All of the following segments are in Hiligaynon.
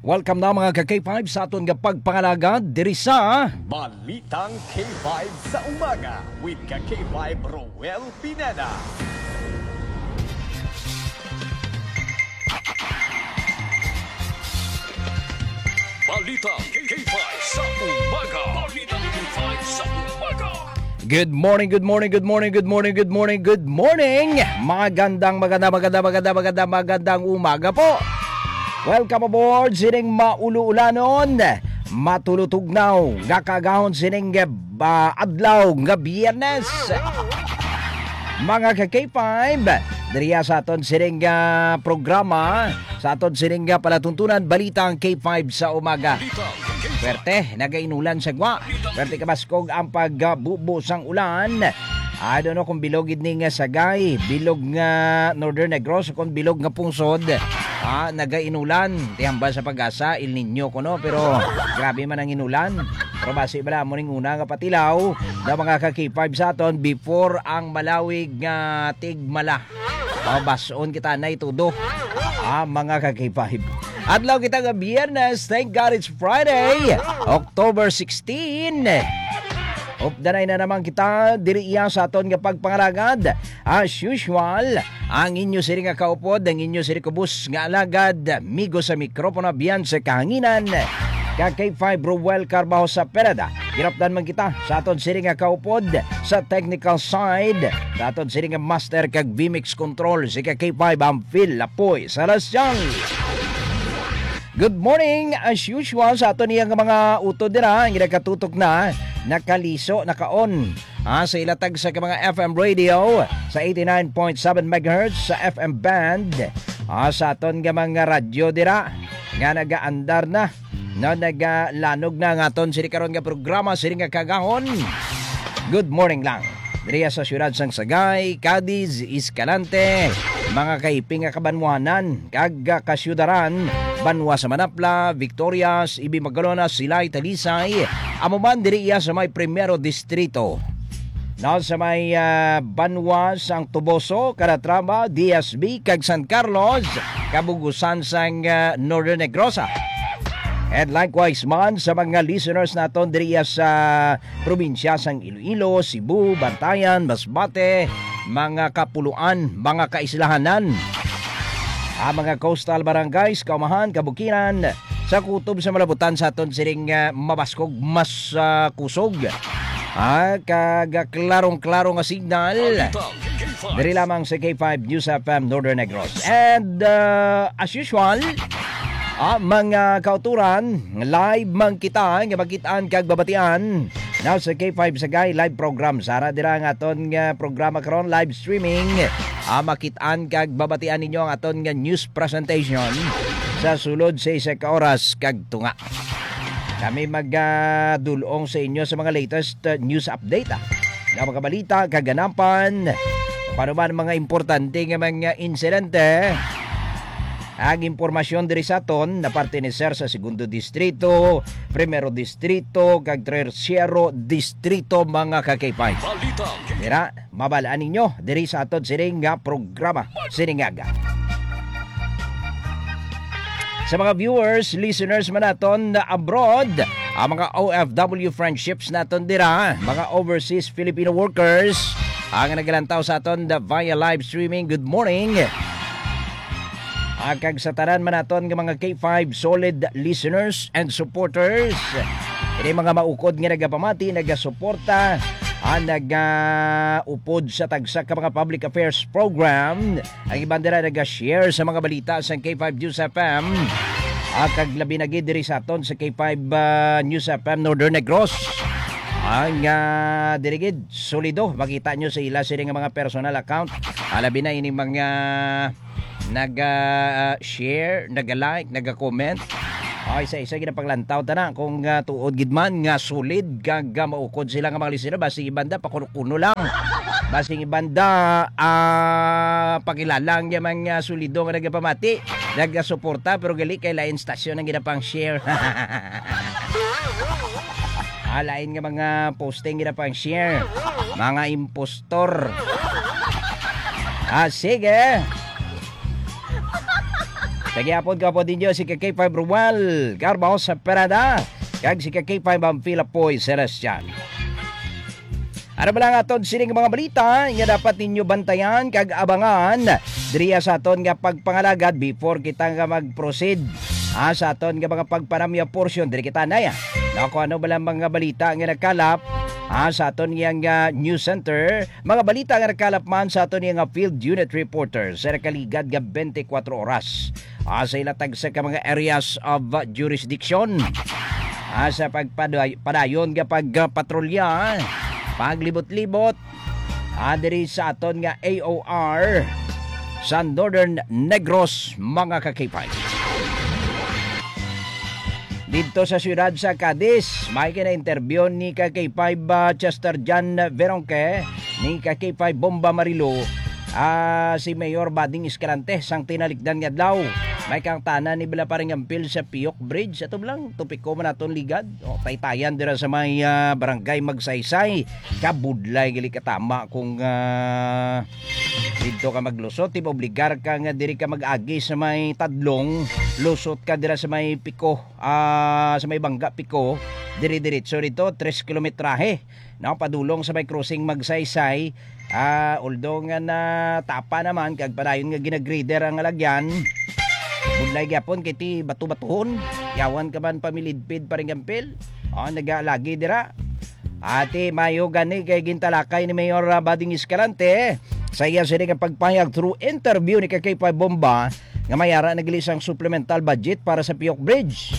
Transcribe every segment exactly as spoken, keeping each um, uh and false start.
Welcome na, mga ka K five, sa aton nga pagpangalagad diri sa Balitang K five sa Umaga with ka K five Roel Pineda. Balitang K five sa Umaga. Balitang K five sa Umaga. Good morning, good morning, good morning, good morning, good morning, good morning. Magandang, maganda, maganda, maganda, maganda, magandang umaga po. Welcome aboard sining mauluulanon, matulutugnaw nga kaagahon sining, ah, adlaw nga Biyernes. Mga ka K five, diriya sa aton sining, ah, programa, sa aton sining, ah, palatuntunan, Balitang K five sa Umaga. Swerte, nagainulan sa gwa. Swerte, kabaskog ang pagbubo sang ulan. I don't know kung bilog gid ni nga Sagay, bilog nga Northern Negros, kung bilog nga Pungsod. Ah, nagainulan. Tihamba sa pag-asa, El Niño kuno, pero grabe man ang inulan. Pero basi bala mo ning una nga patilaw na, mga ka K five, sa aton before ang malawig nga tigmala. Mabas-on kita na itudo. Ah, mga ka K five. Adlaw kita nga Biyernes. Thank God it's Friday, October sixteen. Updanay na naman kita diri iya sa aton nga pagpangalagad. As usual, ang inyo siri nga kaupod, ang inyo siri kubos nga alagad, amigo sa mikropono, biyan sa kahanginan, ka K five Roel Carbajo sa Pereda. Ginapdan man kita sa aton siri nga kaupod, sa technical side, sa aton siri nga master kag V-Mix control, si ka K five ang Phil Lapoy Celestial. Good morning, as usual, sa aton iya nga mga utod dira, ang ginakatutok na, nakaliso, naka-on, ah, sa ila tagsa ka mga F M radio, sa eighty-nine point seven megahertz sa F M band, ah, sa aton nga mga radyo dira, nga nagaandar na, no, nagalanog na ang aton sini karon nga programa, sini nga kaagahon. Good morning lang. Diriya sa siyudad sang Sagay, Cadiz, Escalante, mga kaiping nga kabanwanan, kag, ah, kasyudaran, banwa sa Manapla, Victorias, Ibi Magalonas, Silay, Talisay, amo man diri iya sa may Primero Distrito. Now, sa may, ah, banwa sang Toboso, Calatrava, D S B, kag San Carlos, kabugusan sang, ah, Northern Negros. And likewise man sa mga listeners naton diri sa probinsya sang Iloilo, Cebu, Bantayan, Masbate, mga Kapuluan, mga Kaislahanan, ang mga coastal barangays, kaumahan, kabukiran, sa kutob sa malabutan sa aton siring, ah, mabaskog, mas, ah, kusog. Ah, kag klarong-klaro nga signal. Diri lamang sa K five News F M Northern Negros. And, ah, as usual, ah, mga kauturan, live man kita nga makit-an kag babatian. Now sa K five Sagay live program, sara dira ang aton nga programa karon, live streaming. Ah, makit-an kag babatian ninyo ang aton nga news presentation sa sulod sa isa ka oras kag tunga. Kami magadul-ong sa inyo sa mga latest, uh, news update, ah, nga mga balita, kaganapan, paano man mga importante nga mga insidente. Ang impormasyon diri sa aton na parte ni Sir sa Segundo Distrito, Primero Distrito, kag Tercero Distrito, mga kakipay. Balita. Dira, mabal-an ninyo diri sa aton sining nga programa, sining aga. Sa mga viewers, listeners man naton na abroad, ang mga O F W friendships naton dira, mga overseas Filipino workers, ang nagalantaw sa aton da via live streaming, good morning. Ah, kag sa tanan man naton nga mga K five solid listeners and supporters, ini mga maukod nga nagapamati, nagasuporta, ah, nagaupod sa tagsa ka mga public affairs program, ang iban dira naga-share sa mga balita sa K five News F M. Ah, kag labi na gid diri sa aton sa K five, ah, News F M Northern Negros. Ang, ah, diri gid, solido. Makita nyo sa ila sini nga mga personal account. Ah, labi na ini mga naga-share, naga-like, naga-comment. Ay, sa isa ginapanglantaw ta na kung, ah, tuod gid man nga solid kag, ah, maukod sila nga mga listener, basi ibanda pa kuno-kuno lang. Basing ibanda, ah, pakilala ang mga solido nga nagapamati, nagasuporta, pero gali kay lain stasyon ang ginapang-share. Ah, lain nga mga posting ginapang-share. Mga impostor. Ah, sige. Sa gihapon, kaupod ninyo si ka K five Romuald Carlos Perada, kag si ka K five ang Pilapoy Celestial. Ano ba lang aton sining mga balita nga dapat ninyo bantayan kag abangan diriya sa aton nga pagpangalagad before kita nga mag-proceed, ah, sa aton nga mga pagpanamya portion? Diri kita na ya. Na kung ano ba lang mga balita nga nakalap, ah, sa aton nga, nga news center, mga balita nga nakalap man sa aton nga field unit reporter sa nakaligad nga twenty-four oras, ah, sa ila tagsa ka mga areas of, ah, jurisdiction, ah, sa pagpaday-, padayon nga pagpatrolya, paglibot-libot, ah, diri sa aton nga A O R sa Northern Negros, mga ka-K five. Dito sa siyudad sa Cadiz, may kina-interview ni ka K five, ah, Chester John Veronque, ni ka K five Bomba Marilo, ah, si Mayor Bading Escalante sang tinalikdan nga adlaw. May kangtanan ni bala paring ampil sa Piyok Bridge. Ato lang, topiko man naton ligad. O, taytayan dira sa may, ah, barangay Magsaysay. Kabudlay gali katama kung, ah, dito ka maglusot, di ba obligar ka nga diri ka mag-agi sa may Tadlong, lusot ka dira sa may Piko, ah, sa may Bangga Piko, diri diretso dito, tres kilometrahe, no, padulong sa may crossing Magsaysay. Ah, although nga natapa naman, kag padayon nga ginagrader ang alagyan, budlay gyapon kay ti bato-batuhon, yawan ka man pamilidpid paring ampil. Oh, nagalagi dira. Ati, mayo gani kay gintalakay ni Mayor, ah, Bading Escalante sa iya sini nga pagpahayag through interview ni ka K five Bomba nga may ara na gali sang supplemental budget para sa Piyok Bridge.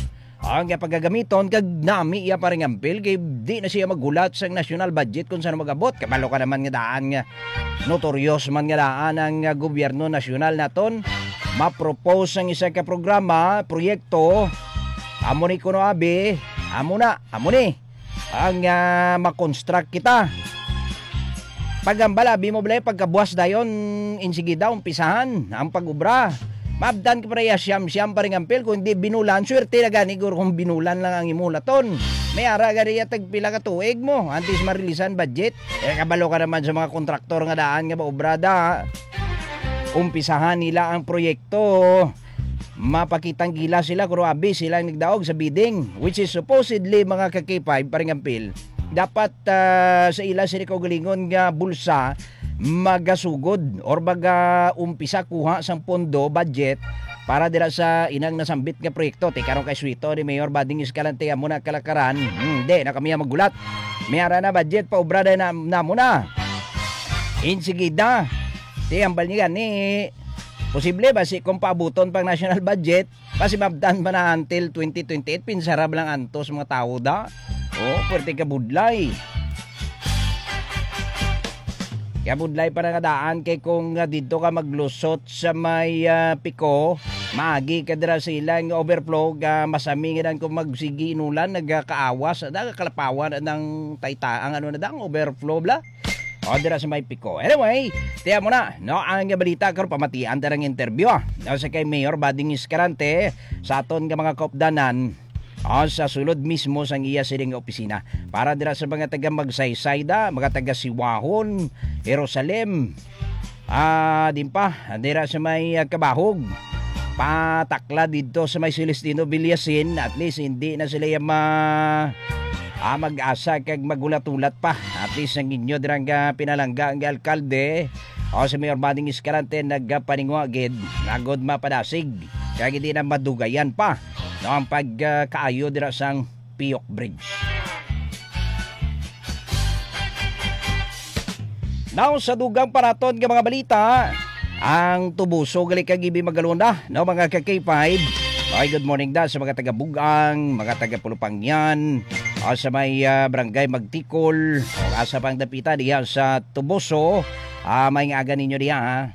Ang iya pagagamiton kag nami iya paring ampil kay di na siya maghulat sang national budget kung saan mag-abot. Kabalo ka naman nga daan nga notorious man nga daan ang, ah, gobyerno nasyonal naton. Ma-propose ang isa ka programa, proyekto, amo ni kuno abi, amo na, amo ni ang, ah, ma-construct kita. Pagambal, abi mo balay, pagkabuas dayon, insigida, umpisahan ang pag-obra. Mabtan ka pa iya siyam-siyam paring ampil, kung di binulan, swerte na gani, guro, kung binulan lang ang imo laton. May ara gani iya tagpila ka tuig mo, antes marilisan budget. Eh, kabalo ka naman sa mga kontraktor nga daan nga maobra da. Umpisahan nila ang proyekto. Mapakitang gila sila, kung abi sila ang nagdaog sa bidding, which is supposedly, mga ka-K five, paring ampil, dapat, ah, sa ila sini kaugalingon nga bulsa magasugod or maga-umpisa kuha sang pondo, budget, para dira sa inang nasambit nga proyekto. Ti karon kay suwito ni Mayor Bading Escalante, amo na kalakaran. Hmm, di na kami maggulat. May ara na budget, paobra na, na mo na. Insigida. Ti, ambal niya gani, posible ba si kung paabuton pang national budget, kasi mabdan pa na until twenty twenty-eight, pinsara ba lang antos mga tao da? Oh, pwerte kabudlay. Kabudlay pa na nga daan kay kung, ah, didto ka maglusot sa may, ah, Pico, maagi ka dira sa ilang overflow, ah, masami nga dan kung magsigi inulan, nagkakaawas, nagkakalapawan ang tayta, ang ano na dang overflow bla. O, dira sa may Pico. Anyway, tiyan mo na, no, ang balita karon, pamatian ta ang interview, ah, no, sa kay Mayor Bading Escalante sa aton nga mga kaupdanan, ah, sa sulod mismo sang iya siling nga opisina. Para dira sa mga taga Magsaysay da, mga taga Siwahon, Jerusalem, ah, din pa, dira sa may, ah, Kabahog, patakla didto sa may Celestino Villasin, at least hindi na sila yung ma-, ah, mag-asa kag magulat-ulat pa. At least ang inyo dirang, ah, pinalangga ang alkalde o si Mayor Bading Escalante nagpaningwa gid, nagod mapadasig. Kaya hindi na madugayan pa, no, ang pagkaayo dira sang Piyok Bridge. Now, sa dugang paraton nga mga balita, ang Tubuso gali kag Ibi Magalona, no, mga ka K five. Okay, good morning da sa mga taga Bugang, mga taga Pulupangyan, o sa may, ah, barangay Magtikol, o asa pang dapita diha sa Tubuso, ah, may nga aga ninyo diha, ha?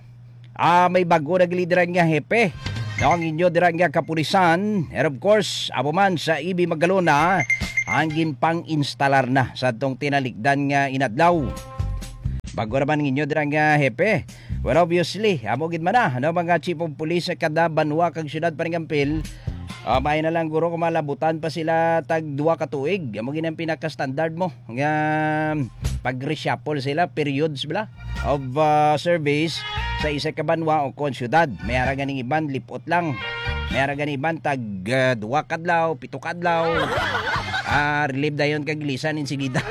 Ah, may bago naglideran nga hepe, no, ang inyo dira nga kapulisan. And of course, amo man sa Ibi Magalona, ang ginpang-instalar na sa atong tinalikdan nga inadlaw. Bago naman ang inyo dira nga hepe. Well, obviously, amo gid man na, no, mga chief of police sa kada banwa kag syudad, paring ampil. Ah, may na lang guro kung malabutan pa sila tag duha ka tuig. Amo gid ang pinaka-standard mo nga pag-reshuffle sila, periods bala of, ah, service sa isa ka banwa o kon syudad. May ara ganing iban, lipot lang. May ara gani iban tag, ah, duwa kadlaw, pito kadlaw. Ah, relieve dayon kag ilisan insigida.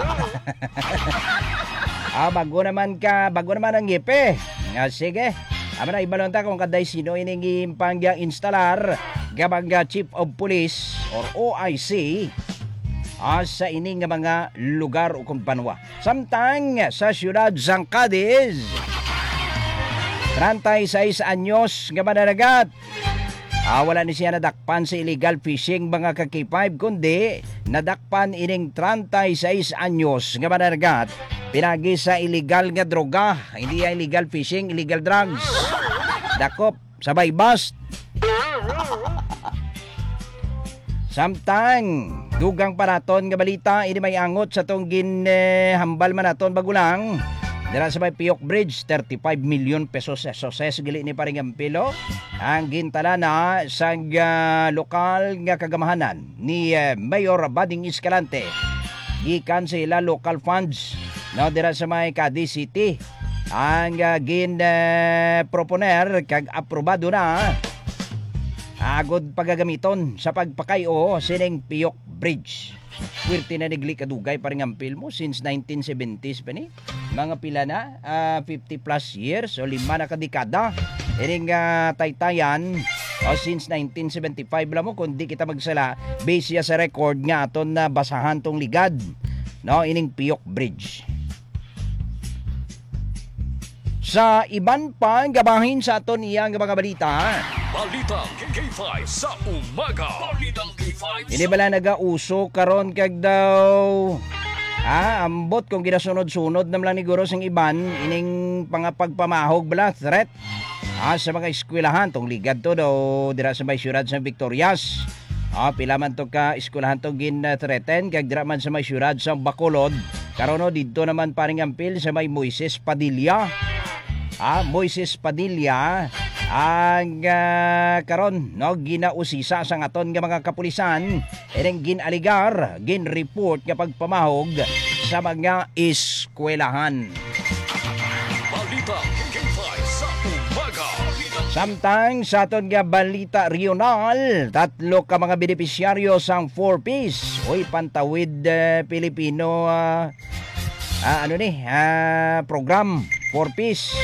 Ah, bago naman ka, bago naman ang ngipe. Nga, sige. Amo na, ibalon ta kung kaday sino ining impang instalar nga mga chief of police or O I C, ah, sa ini nga mga lugar o kung banwa. Samtang sa siyudad sang Cadiz, treinta y seis anyos nga mananagat. Ah, wala ni siya nadakpan sa illegal fishing, mga ka-K five, kundi nadakpan ining treinta y seis anyos nga mananagat pinagi sa illegal nga droga. Hindi ya illegal fishing, illegal drugs. Dakop sa Baybas. Samtang, dugang pa naton nga balita, ini may angot sa tong gin, eh, hambal man naton bago lang. Dira sa may Piyok Bridge, thirty-five million pesos S O S gali ni paring ampilo. Ang gintalana sang, ah, lokal nga kagamahanan ni, eh, Mayor Bading Escalante gikan sa ila local funds, no, dira sa may Cadiz City. Ang, ah, gin, eh, proponer kag aprobado na agod pagagamiton sa pagpakay-o sining Piyok Bridge. Swerte na nigli kadugay, paring ampil mo, since nineteen seventies pa ni. Mga pila na, ah, fifty plus years o lima na ka dekada. Ining, ah, taytayan, o since nineteen seventy-five lang mo, kung di kita magsala, base siya sa record nga aton na basahan tong ligad, no, ining Piyok Bridge. Sa iban pa nga bahin sa aton iya nga mga balita. Balitang K five sa umaga. Balitang K five. Ini sa bala nagauso karon kag daw, ah, ambot kung ginasunod-sunod na lang ni guro sing iban, ining pangapagpamahog bala, threat, ah, sa mga eskwelahan, tong ligad to daw dira sa may siyudad sa Victorias. Ah, pila man to ka eskwelahan to gin, ah, threaten, kag dira man sa may siyudad sa Bacolod. Karon, no, didto naman, paring ampil, sa may Moises Padilla. Ah, Moises Padilla ang, ah, karon, no, ginausisa sang aton nga mga kapulisan, ining gin-aligar, gin-report nga pagpamahog sa mga eskwelahan. Balita K five sa umaga. Samtang sa aton nga balita regional, tatlo ka mga benepisyaryo sang Four Ps, uy, Pantawid, eh, Pilipino, ah, ah, ano ni, ah, program, Four Ps.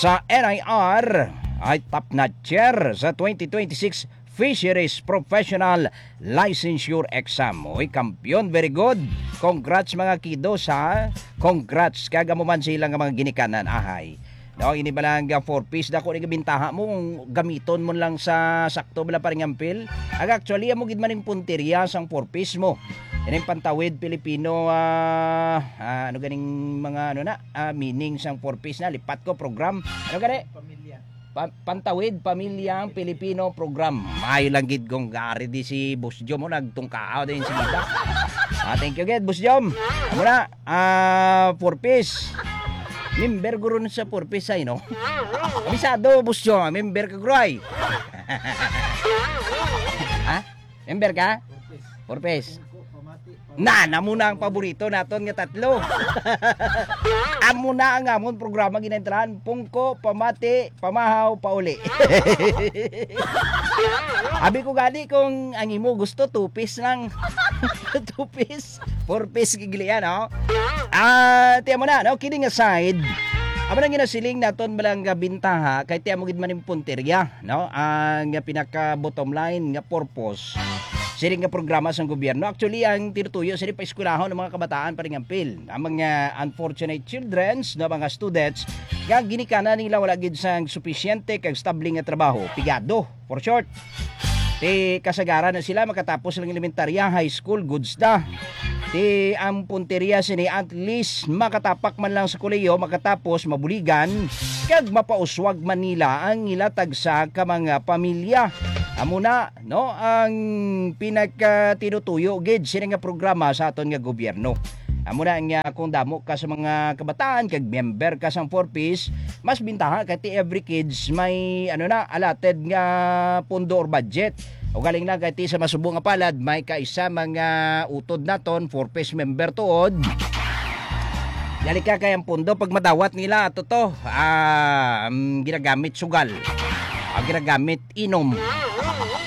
Sa N I R ay top notcher sa twenty twenty-six Fisheries Professional Licensure Exam. Uy, kampiyon, very good. Congrats, mga kiddos, ha. Congrats, kag amo man sila nga mga ginikanan, ahay. No, ini ba lang nga Four Ps, dako ni gabintaha mo kung gamiton mo lang sa sakto bala, paring ampil. Ag actually, amo gid man ning punteriya sang Four Ps mo. Ining Pantawid Pilipino, ah, ah, ano ganing mga, ano na, ah, meaning sang Four Ps na, lipat ko, program. Ano gani? Pamilya. Pa-, Pantawid Pamilyang Pilipino Program. Maayo lang gid kung gari di si Boss Jom mo nagtungkaaw din si Gita. Ah, thank you gid, Boss Jom. Amo na, ah, Four Ps. Member guro na sa Four Ps ay, no? Abisado, Boss Jom, member ka, guro, ay. Ha? Member ka? Four Ps. Na, namo na ang paborito naton nga tatlo. Amo na ang amon programa ginaintalan, Pungko, Pamati, Pamahaw, Pauli. Abi ko gani kung ang imo gusto, two Ps lang. Two Ps, Four Ps gigilian, no? Ah, tiyan mo na, no? Kidding aside, amo na ginasiling naton balang nga bintaha, kay tiyan mo gid man yung punterya, no? Ang pinaka bottom line nga purpose sining nga programa sang gobyerno. Actually, ang tinutuyo sini pa eskwelahon ang mga kabataan, paring ampil. Ang mga unfortunate childrens, no, mga students, nga ginikanan nila wala gid sang supisyente kag stable nga trabaho. Pigado, for short. Ti kasagaran na sila makatapos lang elementarya, high school, goods na. Ti ang punteriya sini, at least makatapak man lang sa kolehiyo, makatapos, mabuligan, kag mapauswag man nila ang ila tagsa ka mga pamilya. Amo na, no, ang pinagkatinutuyo gid sini nga programa sa aton nga gobyerno. Amo na nga, kung damo ka sa mga kabataan kag member ka sang Four Ps, mas bintaha kay ti every kids may, ano na, allotted nga pondo or budget. O galing na kay ti sa masubo nga palad, may kaisa mga utod naton, Four Ps member tuod. Dali ka kay ang pondo pag madawat nila, ato to, ah, um, ginagamit sugal. Ang ginagamit, inom.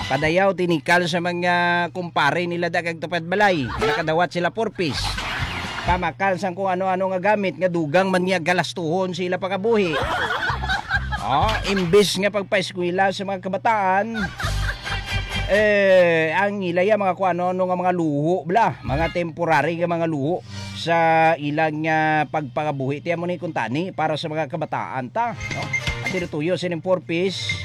Padayaw, tinikal sa mga kumpare nila da kag tupad balay. Nakadawat sila four Ps. Pamakal sang kung ano-ano nga gamit nga dugang man niya galastuhon sila pagabuhi. Oh, imbis nga pagpaeskwela sa mga kabataan, eh, ang ilaya mga kung ano-ano nga mga luho, bla, mga temporary nga mga luho sa ilang, ah, pagpangabuhi. Tiyan mo ni kuntani para sa mga kabataan ta, no? Ang tinutuyo sining four Ps,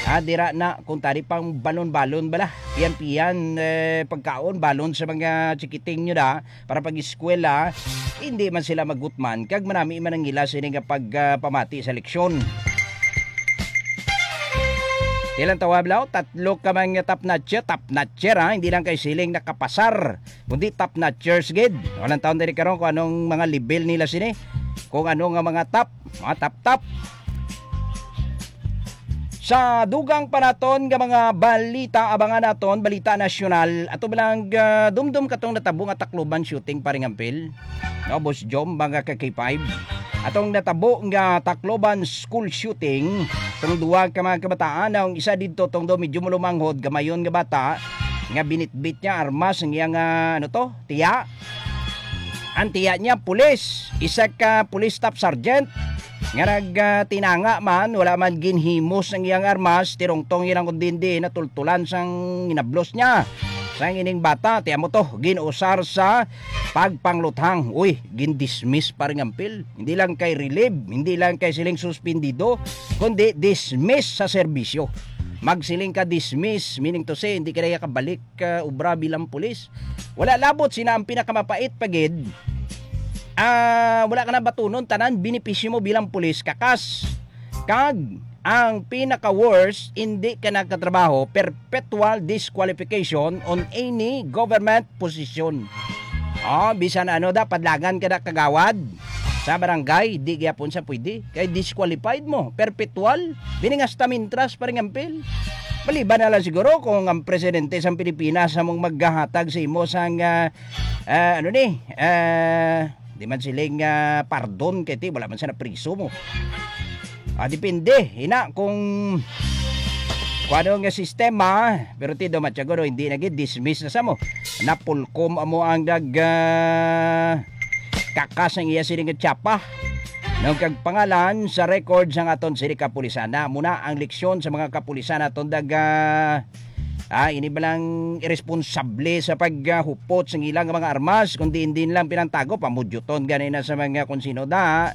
ah, dira na kuntani pang balon-balon bala. Piyan-piyan, eh, pagkaon, balon sa mga chikiting nyo na para pag-eskwela. Hindi man sila magutman kag manami man ang ila sini nga pagpamati sa leksyon. Ilang tawag, Lao? Tatlo ka man nga top notcher, top notcher, ha? Hindi lang kay siling nakapasar, kundi top notchers gid. Walang taon diri karon kung anong mga level nila sini. Kung ano nga mga top, mga top top. Sa dugang pa naton nga mga balita, abangan naton, balita nasyonal. Ato ba lang, ah, dumdum katong natabo nga Tacloban shooting, paring Ampil? No, Boss Jom, mga ka K five. Atong natabo nga Tacloban school shooting, tong duwa ka mga kabataan, ang isa didto tong do medyo mulumanghod, gamayon nga bata, nga binitbit niya armas ang iyang, ah, ano to, tiya. Ang tiya niya, pulis, isa ka police staff sergeant, nga nag, ah, tinanga man, wala man ginhimos ang iyang armas, tirungtong ilang kundi natultulan sang inablos niya. Sang ining bata, tiya mo to, ginusar sa pagpangluthang. Uy, gindismiss, paring Ampil. Hindi lang kay relieve, hindi lang kay siling suspendido, kundi dismiss sa serbisyo. Magsiling ka dismiss, meaning to say, hindi ka na kabalik ka obra bilang pulis. Wala labot sina ang pinakamapait pa gid. Ah, wala ka na batunon tanan benepisyo mo bilang pulis, kakas. Kag ang pinaka-worst, hindi ka nagkatrabaho, perpetual disqualification on any government position. Oh, bisan ano da, padlangan ka na kagawad sa barangay, di gyapon sa pwede. Kay disqualified mo, perpetual. Bini nga hasta mintras, paring Ampil. Maliban na lang siguro kung ang presidente sa Pilipinas among maghahatag sa imo sang, ah, ah, ano ni, ah, di man siling, ah, pardon kay ti, wala man siya napriso mo. Ah, depende, ina, kung kung ano nga sistema, pero ti do matyago, no, hindi na gid, dismiss na sa mo. Napulkom amo ang nag, ah, kakas ang iya sining tsapa. Nung kag pangalan sa record sang aton sini kapulisan, na muna ang leksyon sa mga kapulisan aton daga, ah, ini ba lang irresponsable sa paghupot sang ilang mga armas, kundi hindi lang pinantago, pamudyuton gani na sa mga kung sino da,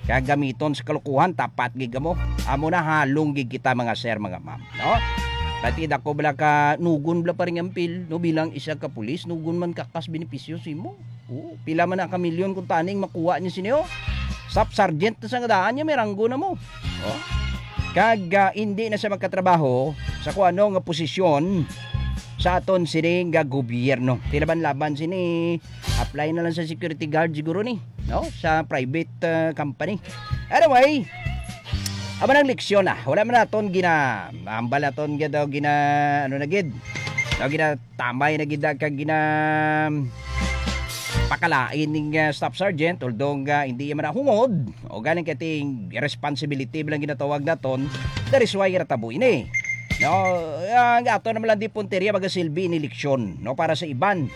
kagamiton sa kalukuhan, tapat gid kamo. Amo na halong gid kita, mga sir, mga ma'am, no? Pati dako bala ka nugon bala, paring Ampil, no, bilang isa ka pulis, nugon man kakas benepisyo simo. Oo, pila man na ka milyon kung taning makuha niya sini, oh. Staff sergeant na sa nga daan niya, may ranggo na mo. Oh. Kag, ah, hindi na siya magkatrabaho sa kung ano nga posisyon sa aton sini nga gobyerno. Tilaban-laban sini, apply na lang sa security guard siguro ni, no? Sa private, ah, company. Anyway, amo nang leksyon na. Wala man naton gina, ambal naton gid daw gina, ano na gid. Daw gina tamay na gid kag gina pakalain ning, ah, staff sergeant, although nga hindi man nahungod o galing kay ting responsibility lang ginatawag naton, that is why natabo ini. No, ang ato naman lang di punteriya magasilbi ini leksyon, no, para sa iban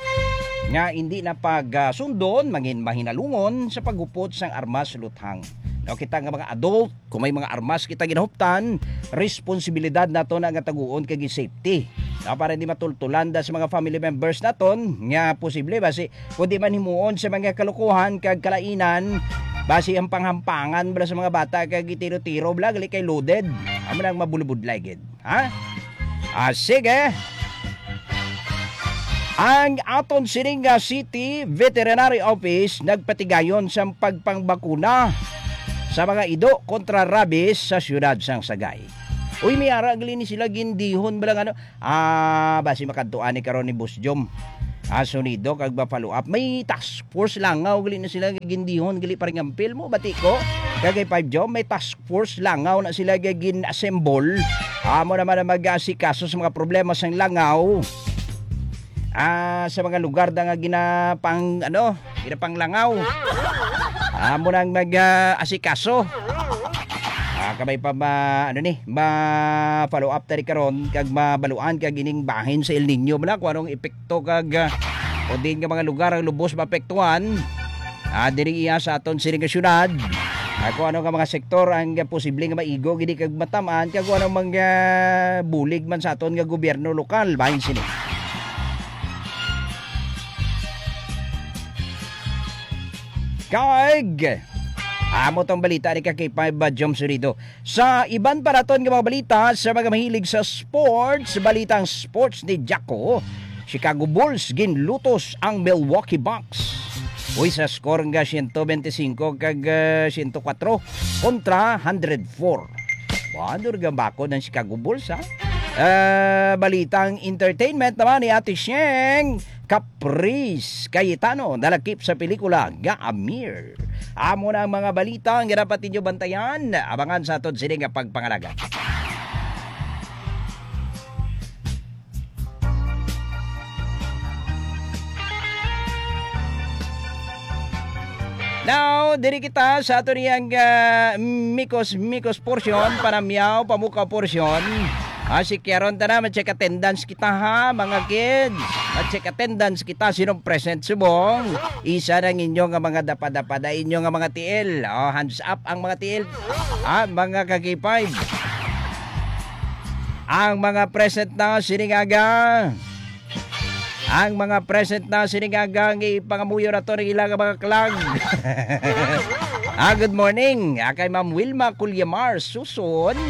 nga hindi na pag, ah, sundon, mangin mahinalungon sa paghupot sang armas luthang. No, kita nga mga adult, kung may mga armas kita ginahuptan, responsibilidad nato na nga taguon kag safety. Na para hindi matultulan da sa mga family members naton nga posible basi kundi man himuon sa mga kalukuhan kag kalainan, basi ang panghampangan bala sa mga bata kag gitiro-tiro bala gali kay loaded. Amo nang mabulubudlay gid, ha? Ah, sige. Ang aton sining nga City Veterinary Office nagpatigayon sang pagpangbakuna sa mga ido kontra rabies sa siyudad sang Sagay. Uy, may ara gali ni sila gindihon bala nga ano, ah, basi makadtuan ni karon ni Boss Jom. Ah, sonido kag ba follow up. May task force langaw gali na sila gindihon gali, paring Ampil, mo bati ko. Kag kay Five Jom, may task force langaw na sila gin-assemble. Amo naman ang mag-aasikaso sa mga problema sang langaw. Ah, sa mga lugar na nga ginapang, ano, ginapanglangaw. Amo nang mag, ah, asikaso. Ah, Kabay pa ma, ano ni, ma-follow up tani karon kag mabaluan kag ining bahin sa El Niño bala kung anong epekto kag, ah, o din nga mga lugar ang lubos maapektuhan. Ah, diri iya sa aton sining nga syudad. Ah, kung ano nga mga sektor ang posible nga maigo gini kag matamaan kag kung ano mga bulig man sa aton nga gobyerno lokal bahin sini. Kag amo tong balita ni ka K five, ah, Jom Surido. Sa iban pa naton nga mga balita, sa mga mahilig sa sports, balitang sports ni Jacko, Chicago Bulls ginlutos ang Milwaukee Bucks. Uy, sa score nga siyento bente singko kag, ah, siyento kwatro kontra hundred four. Ano nga bakod ang Chicago Bulls, ha? Ah, balitang entertainment naman ni Ate Sheng. Caprice Cayetano nalakip sa pelikula nga Amir. Amo na ang mga balita nga dapat ninyo bantayan. Abangan sa aton sini nga pagpangalaga. Now, diri kita sa ato niyang, ah, mikos-mikos portion, panamyaw, pamukaw portion. Ah, si Kiaron, tana, ma-check attendance kita, ha, mga kids. Ma-check attendance kita, sinong present subong. Isa na ninyo nga mga dapada-pada, inyo nga mga tiil. Oh, hands up ang mga tiil. Ah, mga ka-K five. Ang mga present na sining aga. Ang mga present na sining aga, ang ipangamuyo nato ning ila nga mga kalag. Ah, good morning. Ah, kay Ma'am Wilma Culyamar Suson.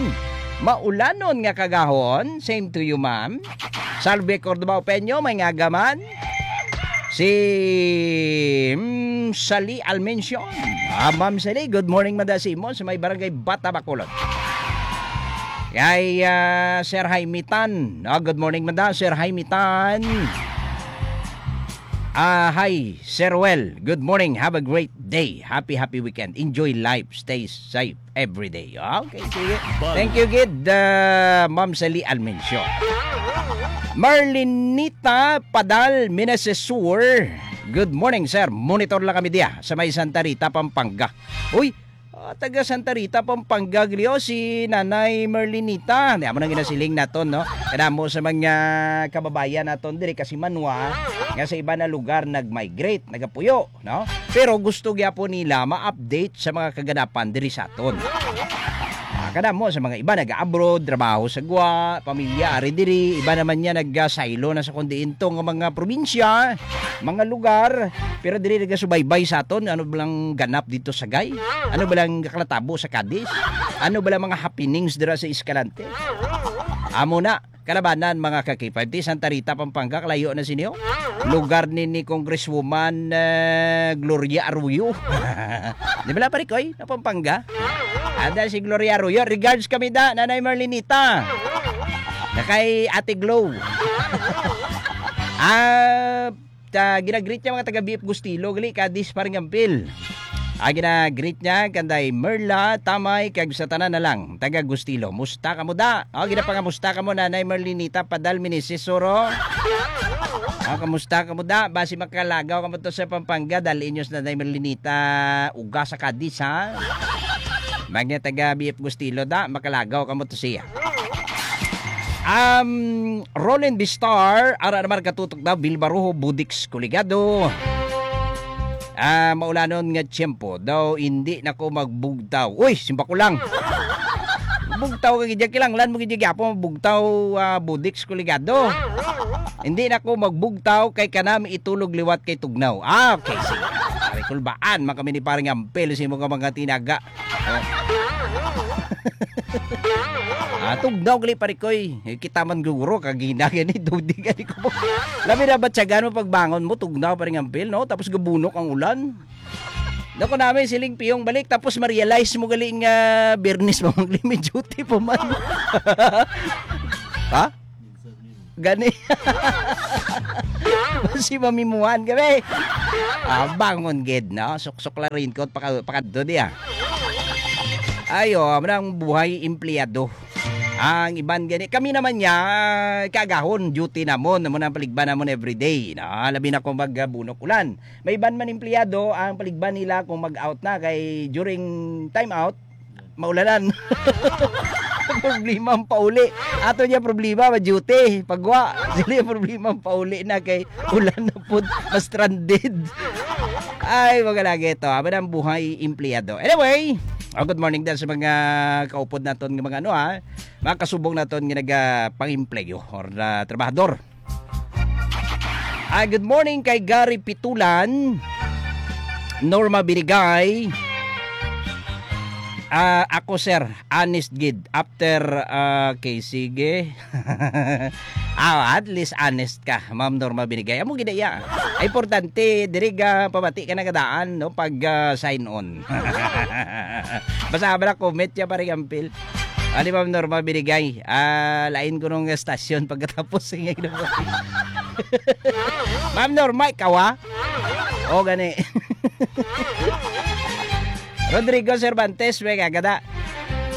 Maulanon nga kagahon. Same to you, ma'am. Salve Cordova Opeño, may nga aga man. Si, mm, Sali Almencio. Ah, Ma'am Sali, good morning, mada sa imo, sa may barangay Bata Bacolod. Kay, ah, Sir Jaime Tan. Ah, good morning, mada, Sir Jaime Tan. Ah, hi, Sir Well. Good morning. Have a great day. Happy, happy weekend. Enjoy life. Stay safe every day. Okay, sige. Thank you, gid, ah, Ma'am Sally Almencio. Marlinita Padal Minasesur. Good morning, sir. Monitor lang kami diya sa may Santa Rita, Pampanga. Uy, ah, taga Santa Rita, Pampanga, gliyo, si Nanay Merlinita. Di amo nang ginasiling naton, no? Kadamo sa mga kababayan naton diri kasi manwa nga sa iba na lugar nag-migrate, nagapuyo, no? Pero gusto gyapon nila ma-update sa mga kaganapan diri sa aton. Ah, kadamo sa mga iba nag-abroad, trabaho sa gwa, pamilya ari diri, iba naman niya nagasaylo na sa kundi into nga mga probinsya, mga lugar, pero diri nagasubaybay sa aton. Ano ba lang ganap dito sa Gay? Ano ba lang kalatabo sa Cadiz? Ano ba lang mga happenings dira sa Escalante? Amo na, kalabanan, mga ka-K five T, Santa Rita, Pampanga, kalayo na sini, oh. Lugar ni, ni Congresswoman, eh, Gloria Arroyo. Di ba, Parikoy? Na Pampanga? Ada si Gloria Arroyo. Regards kami da, Nanay Marlinita. Na kay Ate Glow. Ah, ta, ginagreet niya mga taga B F Gustilo, gali, Cadiz, Paring Ampil. Ah, ginagreet niya, kanday Merla, Tamay, kag sa tanan na lang, taga Gustilo. Musta kamo da? Oh, ginapangamusta kamo, Nanay Merlinita, Padal, Minisisuro. Ah, kamusta kamo da? Basi makalagaw kamo to sa Pampanga, dal inyos, Nanay Merlinita, uga sa Cadiz, ha? Mga taga B F Gustilo da, makalagaw kamo to siya. Um, Roland Bistar, ara naman katutok daw, Bilbaruho, Budix, Kuligado. Ah, maulanon nga tiyempo daw, hindi na ko magbugtaw. Uy, simba ko lang. Bugtaw ka gidya, kilanglan mo gidya gyapon, bugtaw, ah, Budix, Kuligado. Hindi na ko magbugtaw kay kanami itulog liwat kay tugnaw. Ah, okay, sige. Pare, kulbaan man kami ni Parang Ampel sa imo nga mga tinaga. Oh. Ah, tugnaw gali, pare ko, eh. Eh, kita man guro, kagina gani, tugdi gani ko. Labi na batyagan mo pagbangon mo, tugnaw, pare, nga ampil, no? Tapos gabunok ang ulan. Dako namin siling piyong balik, tapos ma-realize mo gali nga Biyernes pa man, may duty pa man. Ha? Gani. Si mamimuhan kami. Ah, bangon gid, no? Suksok la raincoat, paka-, pakadto diya. Ayo, amo na ang buhay empleyado. Ang iban gani, kami naman niya, kagahon, duty namon, amo na ang paligban namon everyday, no? Labi na kung magbunok ulan. May iban man empleyado, ang paligban nila kung mag-out na, kay during time out, maulanan. Problema ang pauli. Ato niya problema, ma-duty. Pagwa, sila yung problema ang pauli na kay ulan na pud, ma-stranded. Ay, mga lagi ito. Aba na ang buhay empleyado. Anyway, oh, good morning din sa mga kaupod naton nga mga ano, ha, mga kasubong naton nga nagapang-empleyo or ah, trabahador. Ah, good morning kay Gary Pitulan, Norma Binigay. Ah, ako, sir, honest gid. After, ah, okay, sige. Ah, at least honest ka, Ma'am Norma Binigay. Amo gid iya. Ay, importante, diri ka pabati ka na kadaan, no, pag ah, sign on. Basta ba na comment siya, pare Ampil? Ani, Ma'am Norma Binigay? Ah, lain ko nung estasyon pagkatapos, ingay na mo. Ma'am Norma, ikaw, ah? O, gani. Rodrigo Cervantes, may kagada.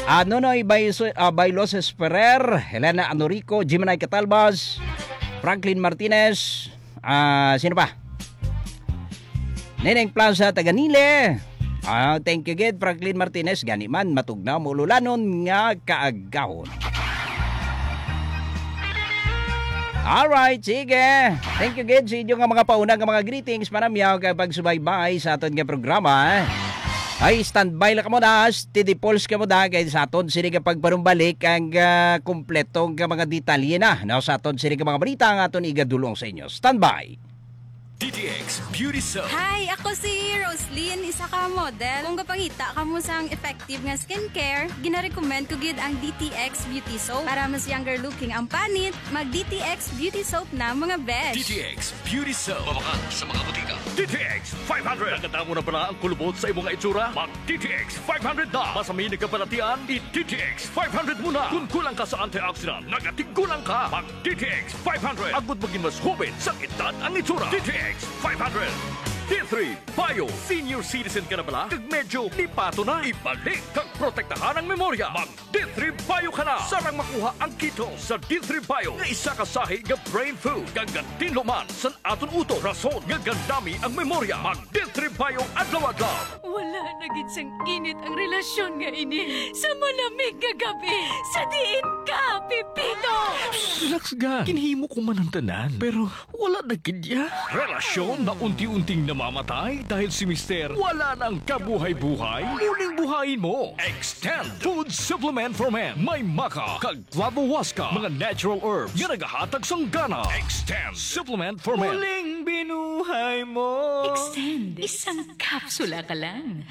Ah, Nonoy Baiso-, ah, Bailos Esperer, Helena Anorico, Jimenay Catalbas, Franklin Martinez, ah, sino pa? Neneng Plaza, taga Nile. Ah, thank you gid, Franklin Martinez. Gani man, matugnaw, maululanon nga kaagahon. Alright, sige. Thank you gid sa inyo nga mga pauna nga mga greetings, panamyaw kag pagsubaybay sa aton nga programa. Ay, standby lang kamo na, steady pulse kamo na, kay sa aton sini nga pagpanumbalik ang ah, kompleto nga mga detalye na, no, sa aton sini nga mga balita ang aton igadulong sa inyo. Standby. D T X Beauty Soap. Hi, ako si Roslyn, isa ka model. Kung gapangita kamo sang effective nga skincare, ginarecommend ko gid ang D T X Beauty Soap. Para mas younger looking ang panit, mag D T X Beauty Soap na, mga besh. D T X Beauty Soap. Mabakal sa mga butika. D T X five hundred. Nakadamo na bala ang kulubot sa imong itsura? Mag D T X five hundred na. Masami nagkabalatian, i-D T X five hundred mo na. Kung kulang ka sa antioxidant, nagatigulang ka. Mag D T X five hundred. Agud maging mas hoben sang edad ang itsura. D T X five hundred. D three Bio. Senior citizen ka na bala? Kag medyo lipato na. Ibalik kag protektahan ang memorya. Mag D three Bio ka na. Sarang makuha ang kito sa D three Bio nga isa ka sahi nga brain food. Kag gatinlo man sa aton utok, rason nga gandami ang memorya. Mag D three Bio adlaw-adlaw. Wala na gid sang init ang relasyon nga ini. Sa malamig nga gabi, sa diin ka, Pipito? Relax, ga. Ginhimo ko man ang tanan, pero wala na gid ya. Relasyon na unti-unting namamatay dahil si Mister wala nang kabuhay-buhay. Muling buhayin mo. Extend Food Supplement for Men. May maca kag flavohuasca, mga natural herbs nga nagahatag sang gana. Extend Supplement for Men. Muling binuhay mo. Extend. Isang kapsula ka lang.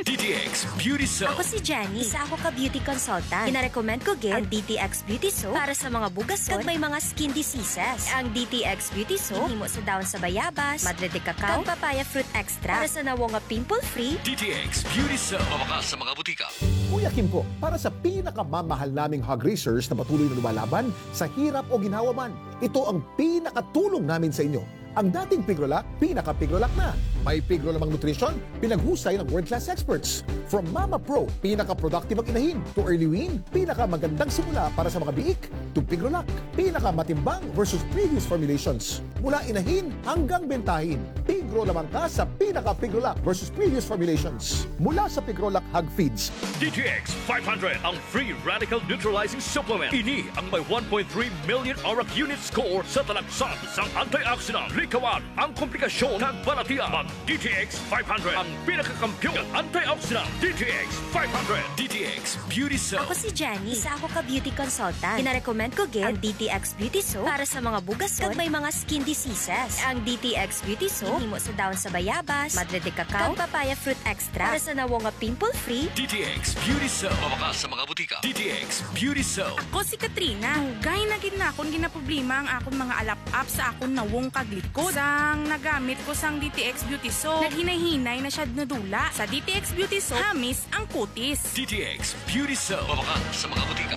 D T X Beauty Soap. Ako si Jenny. Isa ako ka beauty consultant. Ginarecommend ko gid ang D T X Beauty Soap para sa mga bugason kag may mga skin diseases. Ang D T X Beauty Soap ginhimo sa dahon sa bayabas, madre de cacao, kag papaya fruit extract para sa nawong nga pimple-free. D T X Beauty Soap. Mabakal sa mga butika. Kuya Kimco, para sa pinakamamahal naming hog raisers na patuloy na lumalaban sa hirap o ginhawa man, ito ang pinakatulong namin sa inyo. Ang dating Pigrolac, pinaka-Pigrolac na. May Pigro lamang nutrition, pinaghusay ng world-class experts. From Mama Pro, pinaka-productive ang inahin, to Early Wean, pinakamagandang simula para sa mga biik, to Pigrolac, pinakamatimbang versus previous formulations. Mula inahin hanggang bentahin, Pigro lamang ka sa pinaka-Pigrolac versus previous formulations. Mula sa Pigrolac Hog Feeds. D T X five hundred, ang free radical neutralizing supplement. Ini ang may one point three million arak unit score sa talagsan sang antioxidant. Likawan ang komplikasyon kag balatian. Mag D T X five hundred, ang pinakakampiyon nga antioxidant. D T X five hundred. D T X Beauty Soap. Ako si Jenny. Isa ako ka beauty consultant. Ginarecommend ko gid ang D T X Beauty Soap para sa mga bugason kag may mga skin diseases. Ang D T X Beauty Soap ginhimo sa dahon sa bayabas, madre de cacao, kag papaya fruit extract para sa nawong nga pimple-free. D T X Beauty Soap. Mabakal sa mga butika. D T X Beauty Soap. Ako si Katrina. Dugay na gid na akong ginaproblema ang akong mga alap-ap sa akong nawong kag likod. Sang nagamit ko sang D T X Beauty Soap, naghinay-hinay na siya nadula. Sa D T X Beauty Soap, hamis ang kutis. D T X Beauty Soap. Mabakal sa mga butika.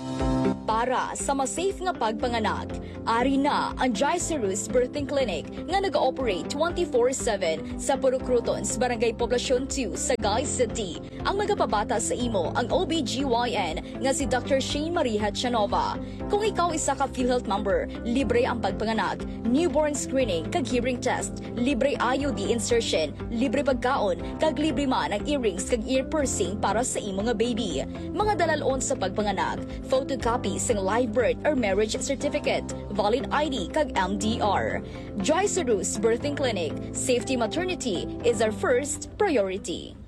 Para sa mas safe nga pagpanganak, ari na ang Gicerus Birthing Clinic nga nag-ooperate twenty-four seven sa Purok Crotons, Barangay Poblacion two, Sagay City. Ang magapabata sa imo ang O B G Y N nga si Doctor Shane Marie Hachanova. Kung ikaw isa ka PhilHealth member, libre ang pagpanganak, newborn screening kag hearing test, libre I U D insertion, libre pagkaon, kag libre man ang earrings kag ear piercing para sa imo nga baby. Mga dalalon sa pagpanganak, photocopy sang live birth or marriage certificate, valid I D kag M D R. Joy Sarus Birthing Clinic, safety maternity is our first priority.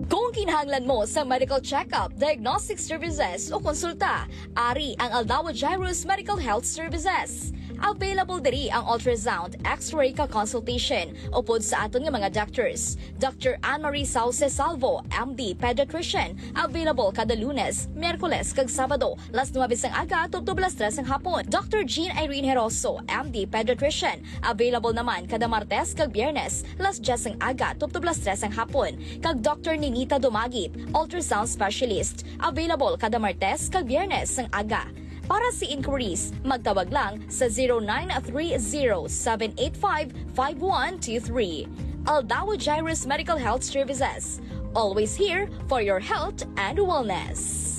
Kung kinahanglan mo sa medical check-up, diagnostic services o konsulta, ari ang Aldawa Jairus Medical Health Services. Available diri ang ultrasound, X-ray ka consultation upod sa aton nga mga doctors. Doctor Anne Marie Sauce Salvo, M D Pediatrician, available kada Lunes, Miyerkules kag Sabado, las nuebe sang aga tubtob las tres sang hapon. Doctor Jean Irene Heroso, M D Pediatrician, available naman kada Martes kag Biyernes, las diyes sang aga tubtob las tres sang hapon, kag Doctor Ninita Dumagit, ultrasound specialist, available kada Martes kag Biyernes sang aga. Para sa inquiries, magtawag lang sa zero nine three zero seven eight five five one two three. Aldawa Jairus Medical Health Services, always here for your health and wellness.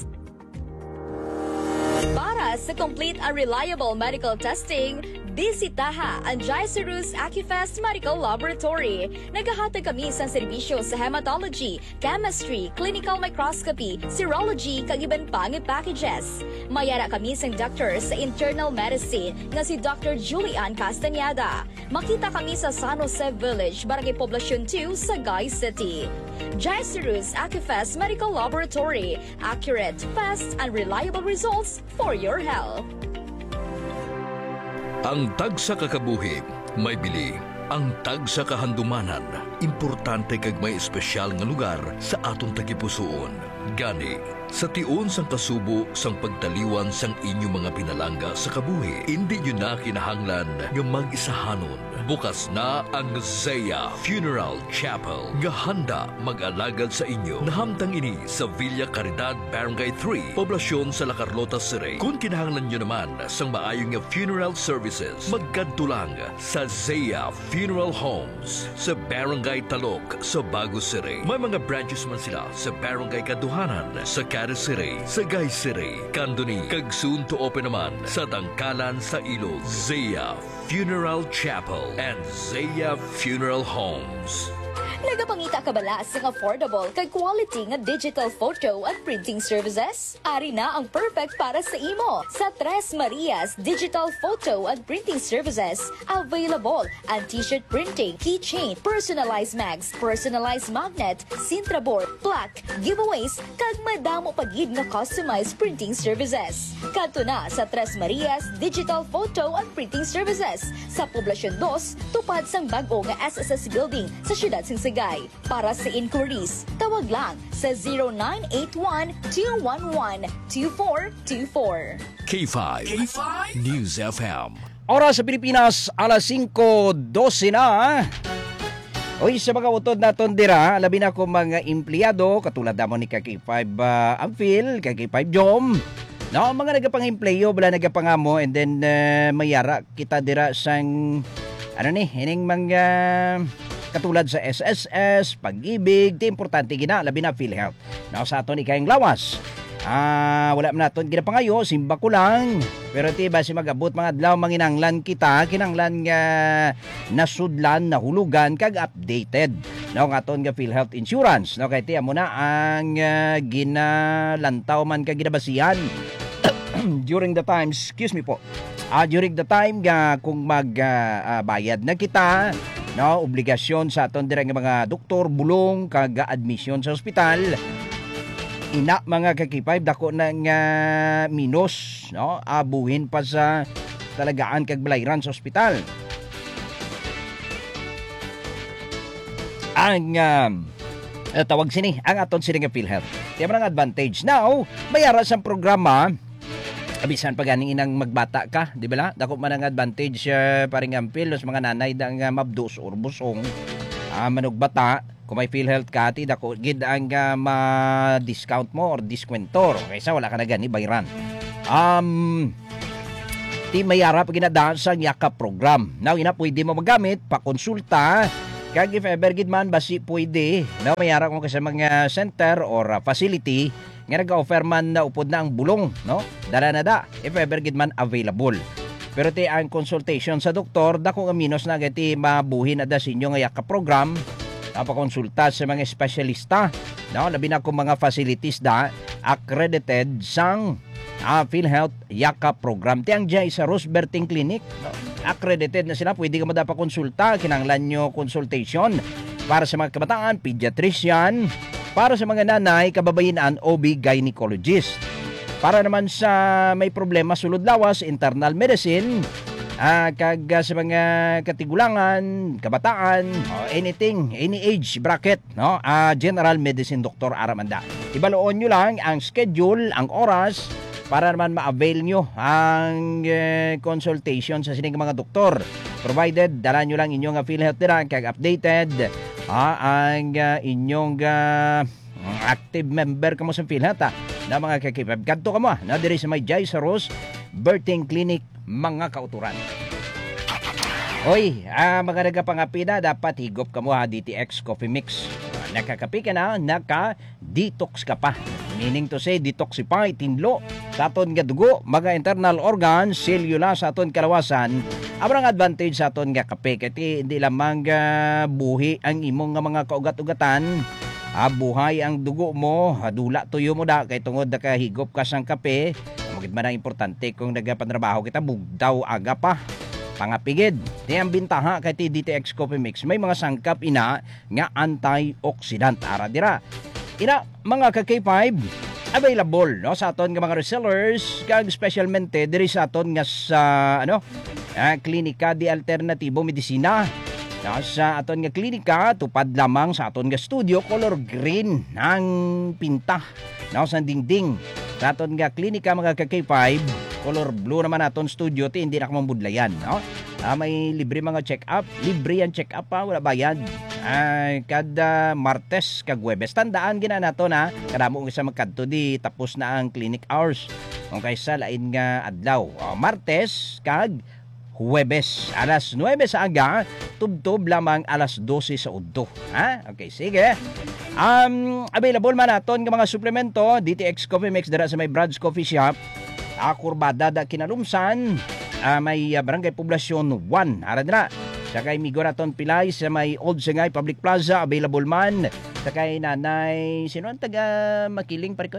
Para sa complete and reliable medical testing, bisitaha ang Jairus Acufest Medical Laboratory. Nagahatag kami sang serbisyo sa hematology, chemistry, clinical microscopy, serology, kag iban pa nga packages. May ara kami sang doctor sa internal medicine nga si Doctor Julian Castañeda. Makita kami sa San Jose Village, Barangay Poblacion two, Sagay City. Jairus Acufest Medical Laboratory, accurate, fast, and reliable results for your health. Ang tagsa ka kabuhi may bili, ang tagsa ka handumanan importante kag may espesyal nga lugar sa aton tagipusoon. Gani, sa tion sang kasubo sang pagtaliwan sang inyo mga pinalangga sa kabuhi, indi nyo na kinahanglan nga mag-isahanon. Bukas na ang Zaya Funeral Chapel nga handa mag-alagad sa inyo. Nahamtang ini sa Villa Caridad, Barangay three, Poblacion sa La Carlota City. Kung kinahanglan nyo naman sang maayo nga funeral services, magkadto lang sa Zaya Funeral Homes sa Barangay Talok sa Bago City. May mga branches man sila sa Barangay Kaduhanan, sa Cadiz City, Sagay City, Candoni, kag soon to open naman sa Tangkalan sa Ilog. Zaya Funeral Chapel and Zaya Funeral Homes. Nagapangita ka bala sang affordable kag quality nga digital photo and printing services? Ari na ang perfect para sa imo. Sa Tres Marias Digital Photo and Printing Services, available ang t-shirt printing, keychain, personalized mags, personalized magnet, Sintra board, plaque, giveaways, kag madamo pa gid nga customized printing services. Kadto na sa Tres Marias Digital Photo and Printing Services sa Poblacion dos, tupad sang bag-o nga S S S Building sa siyudad sang Sagay. Para sa inquiries, tawag lang sa zero nine eight one two one one two four two four. K five K five News F M. Oras sa Pilipinas, alas singko dose na. Oy, sa mga utod naton dira, labi na ko mga empleyado, katulad namon ni ka K five, ah, Ampil, ka K five Jom. No, mga nagapangempleyo, wala nagapangamo, and then, eh, mayara kita dira sang, ano ni, ining mga katulad sa S S S, Pag-ibig, ti importante gina, labi na PhilHealth. No, sa aton ikayang lawas. Ah, wala man naton ginapangayo, simba ko lang. Pero ti ba si mag-abot mga adlaw, manginanglan kita, kinanglan nga nasudlan, nahulugan, kag updated. No, ang aton nga PhilHealth Insurance. No, kay ti amo na ang, ah, ginalantaw man kag ginabasihan during the time, excuse me po, ah, during the time nga kung mag, ah, ah, bayad na kita, no, obligasyon sa aton dira nga mga doktor, bulong, kag admission sa ospital. Ina, mga ka K five, dako na nga minus, no, abuhin pa sa talagaan kag balayran sa ospital. Ang, ah, ah, tawag sini, ang aton sini nga PhilHealth. Kaya man ang advantage. Now, may ara sang programa, bisan pa ganing inang magbata ka, di ba la? Dako man ang advantage, ah, paring Ampil, sa mga nanay da nga mabdos or busong, ah, manugbata. Kung may PhilHealth ka, ti dako gid ang, ah, ma-discount mo or diskwento. Kaysa wala ka na gani bayran. Um, ti may ara pa ginadaan sang Yakap program. Now, ina pwede mo magamit, pakonsulta, kag if ever gid man, basi pwede, no, may ara kung sa mga center or, ah, facility, nga nag-offer man na upod na ang bulong, no? Dala na da, if ever gid man available. Pero ti ang consultation sa doktor, dako nga minus na gati mabuhi na da sa inyo nga Yakap program, ah, pakonsulta sa mga espesyalista, no? Labi na kung mga facilities da accredited sang, ah, PhilHealth Yakap program. Ti ang dyan sa Roseberting Clinic, no? Accredited na sila. Pwede ka madapakonsulta. Kinahanglan nyo consultation para sa mga kabataan, pediatrician, para sa mga nanay, kababayin-an, O B gynecologist. Para naman sa may problema sulod lawas, internal medicine, ah, kag, ah, sa mga katigulangan, kabataan, o anything, any age bracket, no? Ah, general medicine doctor ara man da. Ibaloon nyo lang ang schedule, ang oras, para naman ma-avail nyo ang, eh, consultation sa sining mga doktor. Provided, dala nyo lang inyong, ah, PhilHealth dira, kag updated, ah, ang, ah, inyong, ah, active member kamo sa PhilHealth, ah, na mga kakipab. Kadto kamo, ah, na diri sa may Jai Saros Birthing Clinic, mga kauturan. Oy, ah, mga nagapangapina, dapat higop kamo, ha, D T X Coffee Mix. Nakakapi ka na, naka-detox ka pa. Meaning to say, detoxify, tinlo, sa aton nga dugo, mga internal organs, selula sa aton kalawasan, amo ang advantage sa aton nga kape. Kay ti, hindi lamang, ah, buhi ang imong nga mga kaugat-ugatan, ah, buhay ang dugo mo, ah, dula tuyo mo da, kay tungod nakahigop ka sang kape, amo gid man ang importante kung nagapanrabaho kita, bugtaw aga pa. Pangapigid. Ti ang bintaha kay ti D T X Coffee Mix, may mga sangkap ina nga antioxidant. Ara dira. Ina, mga ka K five, available, no, sa aton nga mga resellers, kag specialmente diri sa aton nga sa, ano, ah, Klinika de Alternatibo Medisina. No, sa aton nga klinika, tupad lamang sa aton nga studio, color green ang pinta, no, sa dingding sa aton nga klinika, mga ka K five. Color blue naman aton studio, ti hindi na ka mambudlayan, no? Ah, may libre mga check-up. Libre ang check-up, ha, wala bayad. Ah, kada Martes kag Huwebes. Tandaan gina nato na, kadamo ang isa magkadto di tapos na ang clinic hours. Kung kaysa lain nga adlaw. Ah, Martes kag Huwebes, alas nuebe sa aga, tubtob lamang alas dose sa udto. Ha? Okay, sige. Um, available man naton nga mga suplemento, D T X Coffee Mix dira sa may Brad's Coffee Shop. Ah, Kurbada da Kinalumsan, ah, may, ah, Barangay Poblacion one. Ara dira. Sa kay Migo Raton Pilay sa may Old Sangay Public Plaza, available man. Sa kay Nanay, sino ang taga Makiling, pare ko?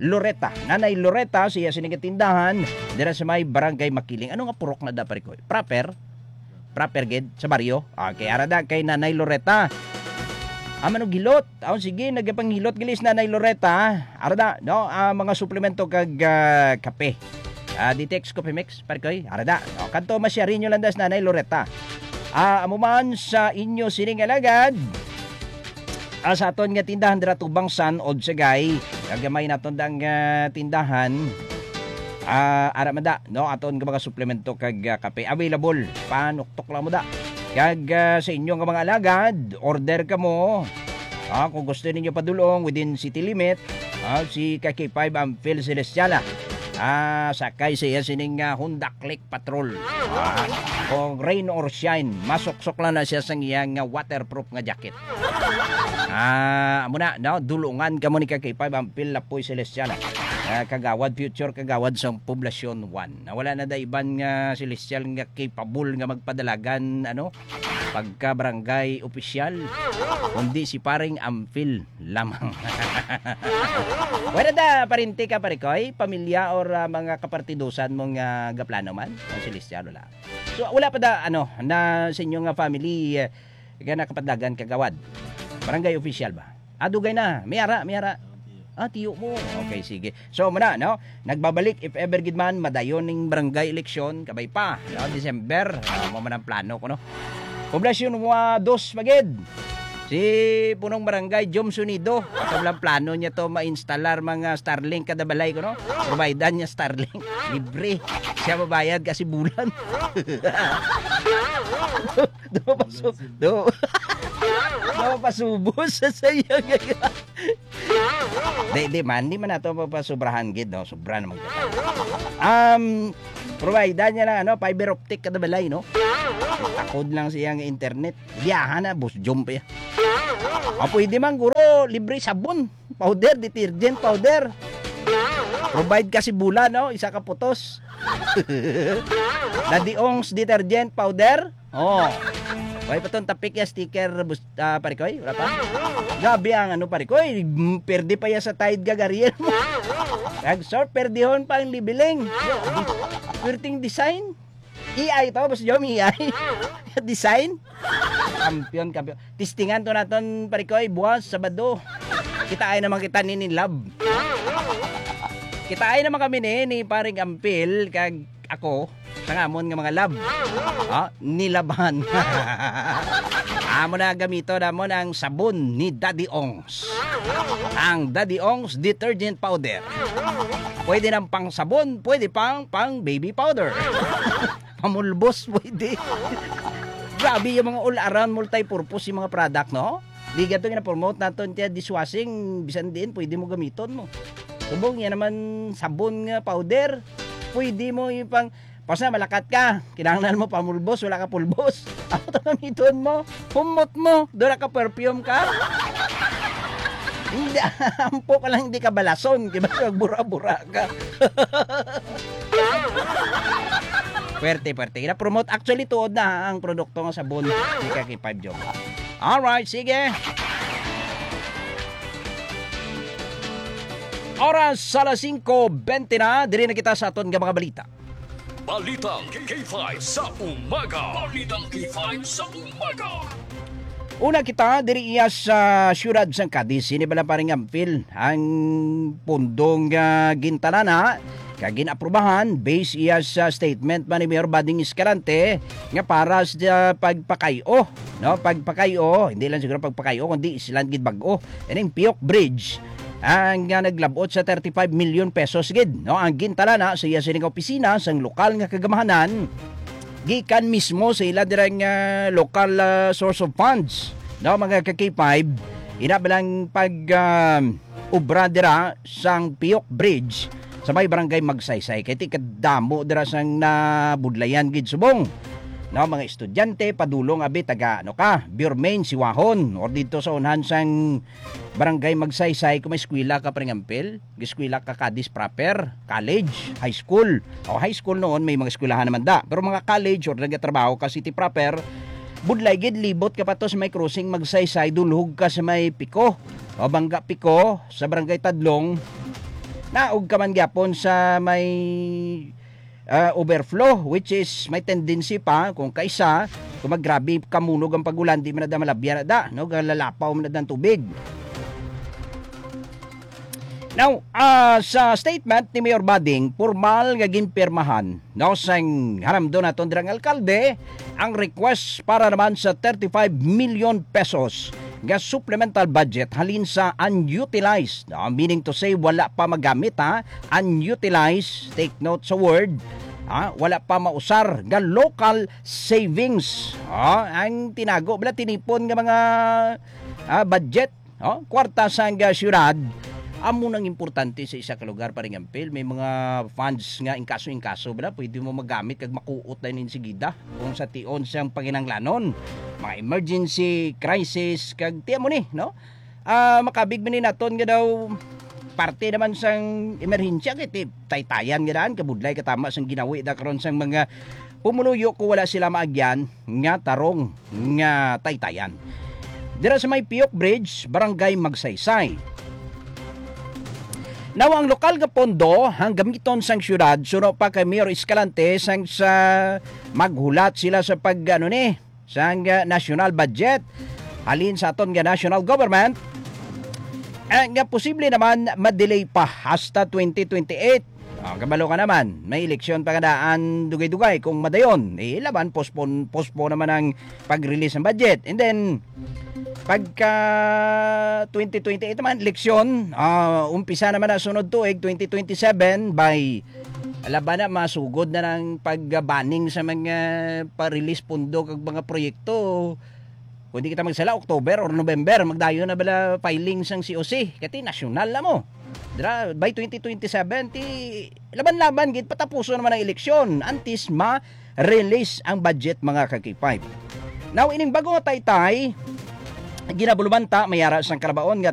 Loretta. Nanay Loretta, siya sini nga tindahan dira sa may Barangay Makiling. Ano nga purok na da, pare ko? Proper? Proper gid sa baryo. Okay, ara da kay Nanay Loretta. Ah, manugilot. Oh, sige, nagapanghilot gali si Nanay Loretta. Ara da, no? Ah, mga suplemento kag, ah, kape. Ah, D T X Coffee Mix, pare ko. Ara da. Oh, kadto masyari nyo lang da si Nanay Loretta. Ah, amo man sa inyo sining alagad. Ah, sa aton nga tindahan dira tubang San Odsagay, kagamay naton dang, ah, tindahan. Ah, ara man da, no, aton nga mga suplemento kag, ah, kape available. Panuktok lang mo da. Kag, ah, sa inyo nga mga alagad, order kamo. Ah, kung gusto ninyo padulong within city limit, ah, si ka K five ang Phil Celestiala. Ah, sakay siya sining, ah, Honda Click Patrol. Ah, kung rain or shine, masuksok lang na siya sa iyang, ah, waterproof nga jacket. Ah, amo na, no? Dulungan kamo ni ka K five ang Phil Lapoy Celestial. Ah, kagawad, future kagawad sa Poblacion one. Nawala na da iban nga celestial nga capable nga magpadalagan, ano, pagka barangay opisyal, kundi si paring Ampil lamang. Wala da, parinti ka, pare ko, eh? Pamilya or, ah, mga kapartidusan mo nga gaplano man? Ang celestial, wala. So, wala pa da, ano, na sa inyo nga family, eh, nga nakapadlagan kagawad. Barangay official ba? Ah, dugay na. May ara, may ara. Ah, tiyo mo. Okay, sige. So, muna, no? Nagbabalik, if ever gid man, madayon ning barangay election, kabay pa, no? December, ah, mo man ang plano ko, no? Poblasyon wa dos magid. Si punong barangay, Jom Sunido. Ato lang plano niya to ma-instalar mga Starlink kada balay ko, no? Providean niya Starlink. Libre. Siya mabayad kasi bulan. Do, do, pasu-, do. Do, pasubos sa saya. Di, di man, di man nato papasubrahan gid, no? Sobra naman kita. Um, providean niya lang, ano, fiber optic kada balay, no? Takod lang siya nga internet. Biyahan na, boss, jump ya. Ah, pwede man, guro, libre sabon, powder, detergent powder. Provide ka si Bula, no? Isa ka putos. Daddy Ong's detergent powder. Oh. Way pa ton tapik ya sticker, bus-, ah, pare ko, eh? Wala pa? Grabe ang ano, pare ko, eh. Mm, perde pa ya sa Tide kag Ariel mo. Kag short, perdihon pa ang libiling. Perting design. A I to, boss Jom, A I. Design. Kampiyon, kampiyon. Testingan to naton, pare ko, eh, buwas, Sabado. Kita ay naman kita ni, ni Lab. Kita ay naman kami ni, ni Paring Ampil, kag ako, sa ngamon nga mga lab. Ha? Nilaban. Amo na gamito namon ang sabon ni Daddy Ong. Ang Daddy Ong's detergent powder. Pwede nang pang sabon, pwede pang, pang baby powder. Pamulbos, pwede. Grabe yung mga all-around multi-purpose yung mga product, no? Di gato gina-promote naton tiya dishwashing, bisan diin, pwede mo gamiton mo. Subong yan naman sabon nga powder, pwede mo yung pang Basta malakat ka, kinahanglan mo pamulbos, wala ka pulbos. Ako to gamiton mo, humot mo, doon ka perfume ka. Hindi, ampo ka lang, hindi ka balason, di ba? Magbura-bura ka. Pwerte, pwerte. Gina-promote. Actually, tuod na ang produkto nga sabon ni Kaki Five Joke. Alright, sige. Oras sa alas singko bente na, diri na kita sa aton nga mga balita. Balitang K five sa umaga. Balitang K five sa umaga. Una kita diri iya sa siyudad sang Cadiz. Sini bala, Paring Ampil, ang pundong, ah, gintalana kag gin-aprubahan based iya sa statement man ni Mayor Bading Escalante nga para sa pagpakay-o, no? Pagpakay-o, hindi lang siguro pagpakay-o, kundi silang gid bag-o. Ining Piyok Bridge ang, ah, naglabot sa thirty-five million pesos gid, no? Ang gintalana sa iya sining opisina sang lokal nga kagamahanan gikan mismo sa ila dira nga local, ah, source of funds, no, mga ka-K five. Ina ba lang pag, ah, obra dira sang Piyok Bridge sa may barangay Magsaysay, kay ti kadamo dira sang nabudlayan gid subong, no, mga estudyante, padulong abi taga, ano ka, Burmain, Siwahon, or dito sa unhan sang Barangay Magsaysay, kung may eskwela ka, Paring Ampil, eskwela ka, Cadiz proper, college, high school. O, high school noon, may mga eskwelahan naman da. Pero mga college or nagatrabaho ka, city proper, budlay gid, libot ka pa to sa may crossing Magsaysay, dulhog ka sa may Pico. O, Bangga Pico, sa Barangay Tadlong, naog ka man gyapon sa may ah, overflow, which is may tendency pa kung kaisa, kung maggrabe kamunog ang pag-ulan, di man na da malabyan na da, no? Galalapaw man na da ang tubig. Now, ah, sa statement ni Mayor Bading, formal nga ginpirmahan, no, sang haramdon naton dirang alkalde, ang request para naman sa thirty-five million pesos nga supplemental budget halin sa unutilized, no? Meaning to say, wala pa magamit, ha? Unutilized, take note sa word, ha? Wala pa mausar nga local savings, ha? Ang tinago bala, tinipon nga mga, ah, budget, oh, kwarta sang, ah, syudad. Amo nang importante sa isa ka lugar, Paring Ampil. May mga funds nga inkaso-inkaso bala, pwede mo magamit kag makuot na insigida kung sa tion sang panginahanglanon, mga emergency, crisis, kag tiyan mo ni, no? Ah, makabig man ni naton nga daw parte naman sang emerhensya, kay ti-, taytayan nga daan, kabudlay katama sang ginawi da karon sang mga pumuluyo kung wala sila maagyan nga tarong nga taytayan. Dira sa may Piyok Bridge, Barangay Magsaysay. Now, ang lokal nga pondo ang gamiton sang syudad suno pa kay Mayor Escalante sang sa maghulat sila sa pag, ano ni, sang, ah, national budget halin sa aton nga national government, eh, nga posible naman ma-delay pa hasta twenty twenty-eight. Ah, kabalo ka naman, may eleksyon pa nga daan dugay-dugay kung madayon. Eh, laban, postpone, postpone naman ang pag-release ng budget. And then, Pagka twenty twenty-eight naman, eleksyon, ah, umpisa naman ang sunod tuig, twenty twenty-seven, by, laban na, masugod na ng pag-banning sa mga pa-release pundo kag mga proyekto. Kung di kita magsala, October or November, magdayo na bala filing sang C O C. Kati nasyonal na mo. Dra, by twenty twenty-seven, ti laban-laban gid, patapuson naman ang eleksyon antes ma-release ang budget, mga ka-K five. Now, ining bago nga taytay, ginabulumanta, may ara sang kalabaon nga